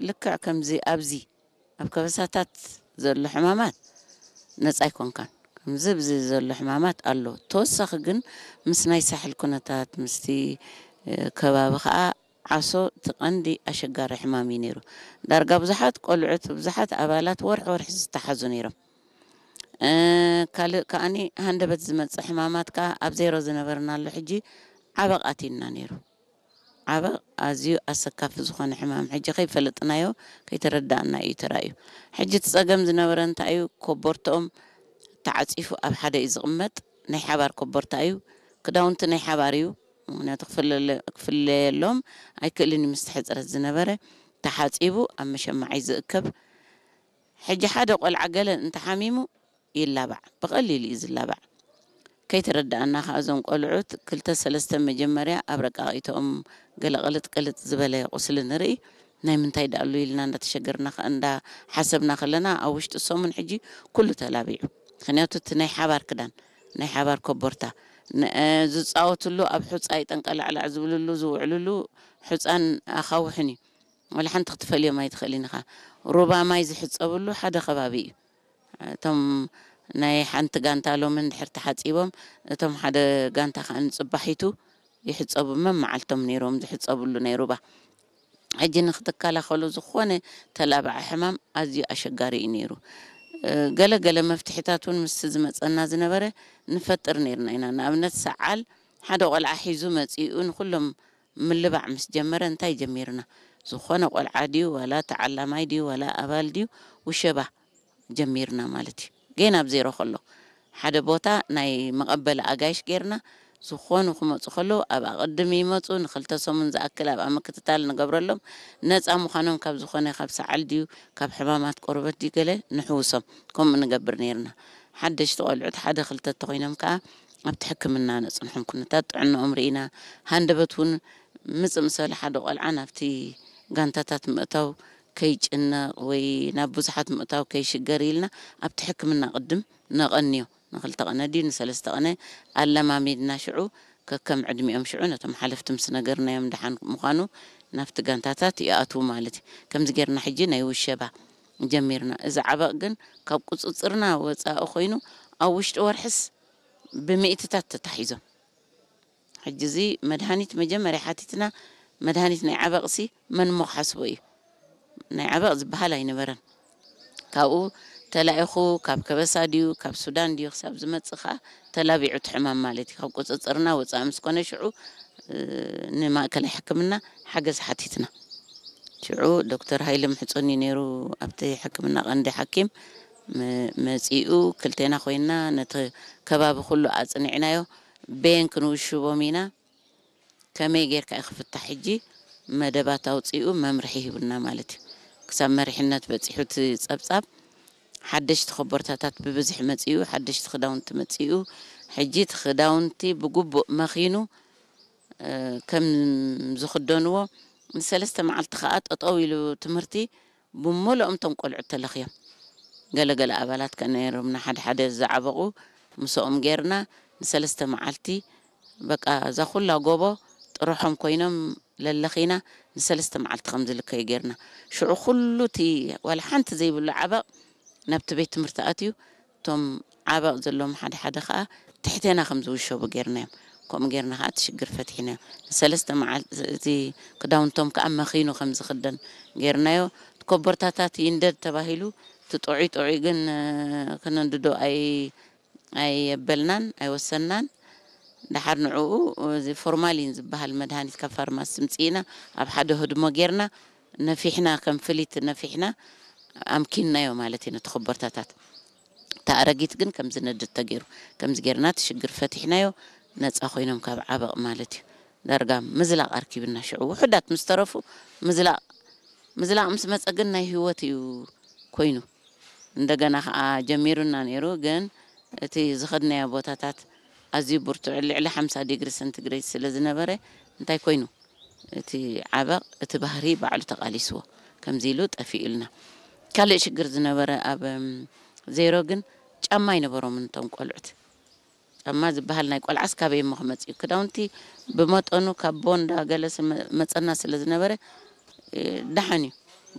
ልክዕ ከምዚ ኣብዚ ኣብ ከበሳታት ዘሎ ሕማማት ነጻ ኣይኮንካን። ከምዚ ኣብዚ ዘሎ ሕማማት ኣሎ። ተወሳኺ ግን ምስ ናይ ሳሕል ኩነታት፣ ምስቲ፣ እ፣ ከባቢ ኸኣ ዓሶ እቲ ቀንዲ ኣሸጋሪ ሕማም እዩ ነይሩ። ዳርጋ ብዙሓት ቆልዑት፣ ብዙሓት ኣባላት ወርሒ ወርሒ ዝተሓዙ ነይሮም። እ፣ ካልእ ከኣኒ ሃንደበት ዝመጽእ ሕማማት ከኣ ኣብ ዜሮ ዝነበርናሉ ሕጂ ዓበቕ ኣትዩና ነይሩ። ዓበቕ ኣዝዩ ኣሰካፊ ዝኾነ ሕማም ሕጂ ከይፈለጥናዮ ከይተረዳእና እዩ ተራእዩ። ሕጂ እቲ ጸገም ዝነበረ እንታይ እዩ? ኮቦርትኦም ተዓጺፉ ኣብ ሓደ እዩ ዝቕመጥ። ናይ ሓባር ኮቦርታ እዩ። ክዳውንቲ ናይ ሓባር እዩ። ምኽንያቱ ክፍለለ-፣ ክፍለየሎም ኣይክእልን እዩ ምስቲ ሕጽረት ዝነበረ። ተሓጺቡ ኣብ መሸማዒ ዝእከብ። ሕጂ ሓደ ቆልዓ ገለ እንተሓሚሙ ይላባዕ፣ ብቐሊሉ እዩ ዝላባዕ። ከይተረድኣና ከኣ እዞም ቆልዑት ክልተ ሰለስተ መጀመርያ ኣብ ረቃቒቶኦም ገለ ቅልጥ ቅልጥ ዝበለ ቁስሊ ንርኢ። ናይ ምንታይ ደኣሉ ኢልና እንዳተሸገርና ከ-፣ እንዳሓሰብና ከለና ኣብ ውሽጢ ሰሙን ሕጂ ኩሉ ተላቢዑ። ምኽንያቱ እቲ ናይ ሓባር ክዳን፣ ናይ ሓባር ኮቦርታ፣ ን-፣ እ፣ ዝጻወትሉ ኣብ ሑጻ ይጠንቀላዕላዕ ዝብልሉ ዝውዕልሉ ሑጻን ኣኻውሕን እዩ። ወላ ሓንቲ ክትፈልዮም ኣይትኽእልን ኢኻ። ሩባ ማይ ዝሕጸብሉ ሓደ ከባቢ እዩ። እቶም ናይ ሓንቲ ጋንታ ሎሚ እንድሕር ተሓጺቦም፣ እቶም ሓደ ጋንታ ከኣ ንጽባሒቱ ይሕጸቡ። መመዓልቶም ነይሮም ዝሕጸብሉ ናይ ሩባ። ሕጂ ንክትከላኸሉ ዝኾነ ተላባዒ ሕማም ኣዝዩ ኣሸጋሪ እዩ ነይሩ። እ፣ ገለ ገለ መፍትሒታት እውን ምስቲ ዝመጸና ዝነበረ ንፈጥር ነይርና ኢና። ንኣብነት ሰዓል ሓደ ቆልዓ ሒዙ መጺኡ ንኹሎም ምልባዕ ምስ ጀመረ እንታይ ጀሚርና? ዝኾነ ቆልዓ ድዩ ዋላ ተዓላማይ ድዩ ዋላ ኣባል ድዩ ውሸባ ጀሚርና ማለት እዩ። ጌና ኣብ ዜሮ ከሎ ሓደ ቦታ ናይ መቐበሊ ኣጋይሽ ጌርና፣ ዝኾኑ ክመጹ ከለዉ ኣብ ኣቐድም ይመጹ፣ ንክልተ ሰሙን ዝኣክል ኣብኣ ምክትታል ንገብረሎም። ነጻ ምዃኖም ካብ ዝኾነ ካብ ሰዓል ድዩ ካብ ሕማማት ቆርበት ድዩ ገለ ንሕውሶም። ከምኡ ንገብር ነይርና። ሓደሽቲ ቆልዑት ሓደ ክልተ እንተኾይኖም ከኣ ኣብቲ ሕክምና ነጽንሖም። ኩነታት ጥዕንኦም ርኢና፣ ሃንደበት እውን ምጽእ ምስ በለ ሓደ ቆልዓ ናብቲ ጋንታታት ምእታው ከይጭነቕ ወይ ናብ ብዙሓት ምእታው ከይሽገር ኢልና ኣብቲ ሕክምና ቅድም ነቐንዮ። ንክልተ ቐነ ድዩ ንሰለስተ ቐነ ኣለማሚድና፣ ሽዑ ከከም ዕድሚኦም ሽዑ ነቶም ሓለፍቲ ምስ ነገርናዮም ደሓን ምዃኑ ናብቲ ጋንታታት ይኣትዉ ማለት እዩ። ከምዚ ጌርና ሕጂ ናይ ውሸባ ጀሚርና። እዚ ዓበቕ ግን ካብ ቁጽጽርና ወጻኢ ኮይኑ ኣብ ውሽጢ ወርሕስ ብሚእትታት ተታሒዞም። ሕጂ እዚ መድሃኒት መጀመርያ ሓቲትና፣ መድሃኒት ናይ ዓበቕሲ መን እሞ ክሓስቦ እዩ? ናይ ዓበቕ ዝበሃል ኣይነበረን። ካብኡ ተላኢኹ ካብ ከበሳ ድዩ ካብ ሱዳን ድዩ ክሳብ ዝመጽእ ከኣ ተላቢዑ እቲ ሕማም ማለት እዩ። ካብ ቁጽጽርና ወጻኢ ምስ ኮነ ሽዑ፣ እ፣ ንማእከላይ ሕክምና ሓገዝ ሓቲትና። ሽዑ ዶክተር ሃይለ ምሕጹን እዩ ነይሩ ኣብቲ ሕክምና ቀንዲ ሓኪም። መ-፣ መጺኡ ክልቴና ኮይንና ነቲ ከባቢ ኩሉ ኣጽኒዕናዮ። በየን ክንውሽቦም ኢና፣ ከመይ ጌርካ እዩ ክፍታሕ? ሕጂ መደባት ኣውጺኡ መምርሒ ሂቡና ማለት እዩ። ክሳብ መሪሕነት በጺሑ እቲ ጸብጻብ፣ ሓደሽቲ ኮቦርታታት ብብዝሒ መጺኡ፣ ሓደሽቲ ክዳውንቲ መጺኡ። ሕጂ እቲ ክዳውንቲ ብግቡእ መኺኑ፣ እ፣ ከም ዝኽደንዎ፣ ንሰለስተ መዓልቲ ከኣ ጠጠው ኢሉ ትምህርቲ። ብምሉኦም እቶም ቆልዑት ተለኽዮም። ገለ ገለ ኣባላት ከ ነይሮምና፣ ሓደ ሓደ ዝዓበቑ ምስኦም ጌርና ንሰለስተ መዓልቲ በቃ እዛ ኩላ ጎቦ ጥርሖም ኮይኖም ለለኺና ንሰለስተ መዓልቲ ከም ዝልከዩ ጌርና። ሽዑ ኩሉ እቲ ዋላ ሓንቲ ዘይብሉ ዓበቕ ናብቲ ቤት ትምህርቲ ኣትዩ። እቶም ዓበቕ ዘለዎም ሓደ ሓደ ከኣ ትሕቴና ከም ዝውሸቡ ጌርናዮም። ከምኡ ጌርና ከኣ እቲ ሽግር ፈቲሕናዮ። ንሰለስተ መዓልቲ እቲ ክዳውንቶም ከኣ መኺኑ ከም ዝኽደን ጌርናዮ። እቲ ኮቦርታታት ይንደድ ተባሂሉ፣ እቲ ጥዑይ ጥዑይ ግን፣ እ፣ ክነንድዶ ኣይ-፣ ኣየበልናን ኣይወሰንናን። ደሓር ንዕኡ እዚ ፎርማሊን ዝበሃል መድሃኒት ካብ ፋርማሲ ምጽኢና ኣብ ሓደ ህድሞ ጌርና ነፊሕና፣ ከም ፍሊት ነፊሕና ኣምኪንናዮ ማለት እዩ ነቲ ኮቦርታታት። እታ ኣረጊት ግን ከም ዝነድድ ተገይሩ። ከምዚ ጌርና እቲ ሽግር ፈቲሕናዮ፣ ነጻ ኮይኖም ካብ ዓበቕ ማለት እዩ። ዳርጋ ምዝላቕ ኣርኪብና ሽዑ ውሑዳት ምስ ተረፉ ምዝላቕ፣ ምዝላቕ ምስ መጸ ግን ናይ ህይወት እዩ ኮይኑ። እንደገና ከኣ ጀሚሩና ነይሩ፣ ግን እቲ ዝኸድናዮ ቦታታት ኣዝዩ ብርቱዕ ልዕሊ ሓምሳ ዲግሪ ሰንቲግሬድ ስለ ዝነበረ እንታይ ኮይኑ? እቲ ዓበቕ እቲ ባህሪ ባዕሉ ተቓሊስዎ። ከምዚ ኢሉ ጠፊኡልና። ካልእ ሽግር ዝነበረ ኣብ፣ እም፣ ዜሮ ግን ጫማ ኣይነበሮምን እቶም ቆልዑት። ጫማ ዝበሃል ናይ ቆልዓስ ካበይ እሞ ክመጽእ እዩ? ክዳውንቲ ብመጠኑ ካብ ቦንዳ ገለ ስመ-፣ መጸና ስለ ዝነበረ፣ እ፣ ደሓን እዩ።